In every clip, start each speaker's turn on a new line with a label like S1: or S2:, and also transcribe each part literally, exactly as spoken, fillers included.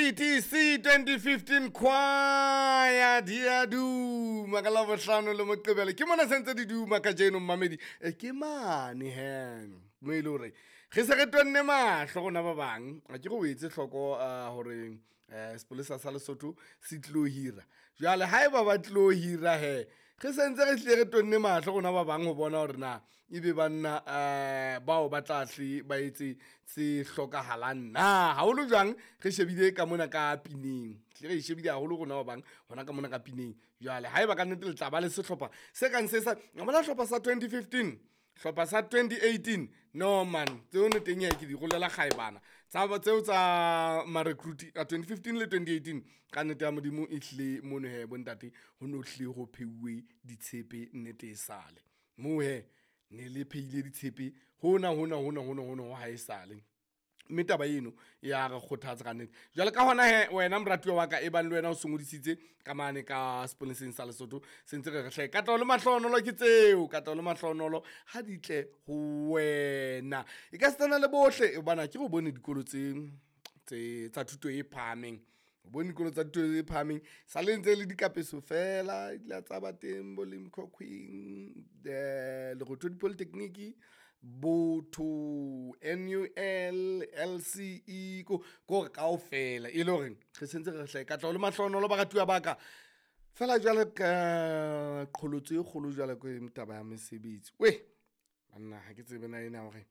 S1: T T C twenty fifteen choir di a duma ka Labohlano le Moqebelo. Ke mona sentse di duma kajeno, mmamedi. E ke mane he mo e le hore re se re tonne mahlo rona ba bang. A ke re o etse hloko uh, hore um sepolesa sa Lesotho se tlilo hira jwale. Haeba ba tlilo hira he, re sentse re hlile re tonne mahlo rona ba bang ho bona hore na ebe banna um bao ba tla hle ba etse se hlokahalang na. Haholo jwang re shebile ka mona ka pineng, hle re e shebile haholo rona ba bang hona ka mona ka pineng. Jwale haeba ka nnete le tla ba le sehlopha se kang se sa bona hlopha sa twenty fifteen, hlopha sa twenty eighteen, no man, tseo teng ya ke di rolela kgaebana tsa tseo tsa ma-recruit a twenty fifteen le twenty eighteen. Ka nnete ya Modimo, e hlile mono he bontate ho no hlile ho pheuwe ditshepe. Nnete e sale moo he ne le phehile ditshepe hona hona hona hona hona ho ha e sale, mme taba eno ya re kgothatsa ka nnete. Jwale ka hona he, wena moratuwa wa ka, e bang le wena o se ngodisitse ka mane ka sepoleseng sa Lesotho, sentse re re hle katleho le mahlonolo ke tseo, katleho le mahlonolo ha di tle ho wena e ka setsana le bohle. Hobane ke re o bone dikolo tse tse tsa thuto e phahameng, o bone dikolo tsa thuto e phahameng sa le ntse le dikapeso fela di la tsa ba teng bo Limkokwing, Lerothodi Polytechnic, Botho, N U L, L C E, ko hore kaofela e le hore re sentse re hle katleho le mahlonolo baratuwa ba ka. Feela jwale ka qholotso e kgolo jwale ke taba ya mesebetsi. We banna, ha ke tsebe na ena hore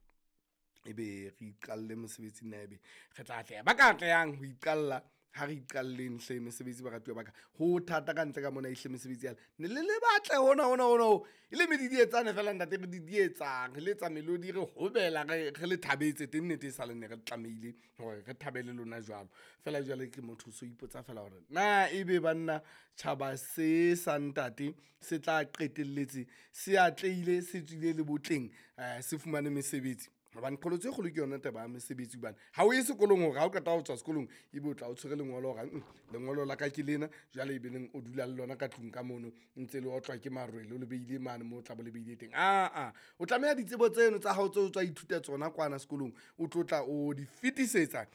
S1: ebe re iqalle mosebetsi na ebe re tla atleha. Ba ka atlehang ho iqalla, ha re iqalleng hle mesebetsi, baratuwa ba ka. Ho thata ka ntle ka mona ehle mesebetsi yale ne le le batle hona hona hona ho e le medidietsane fela ntate, re didietsang, re letsa melodi, re hobela, re re le thabetse teng. Nnete e sa le ne re tlamehile hore re thabele lona jwalo fela. Jwale ke motho o so ipotsa fela hore na ebe banna tjhaba se sa ntate se tla qetelletse se atlehile, se tswile le botleng, um se fumane mesebetsi. Hobane qholotso e kgolo ke yona taba ya mesebetsi, hobane ha o ye sekolong hore ha o qeta ho tswa sekolong ebe o tla o tshwere lengolo hore mm, lengolo la ka ke lena. Jwale ebe neng o dula le lona ka tlung ka mono, ntse le otlwa ke marwele, o le beile mane moo o tla bo le beile teng. Aa, o tlameha ditsebo tseno tsa hao tseo o tswa ithuta tsona kwana sekolong, o tlo tla o di fetisetsa.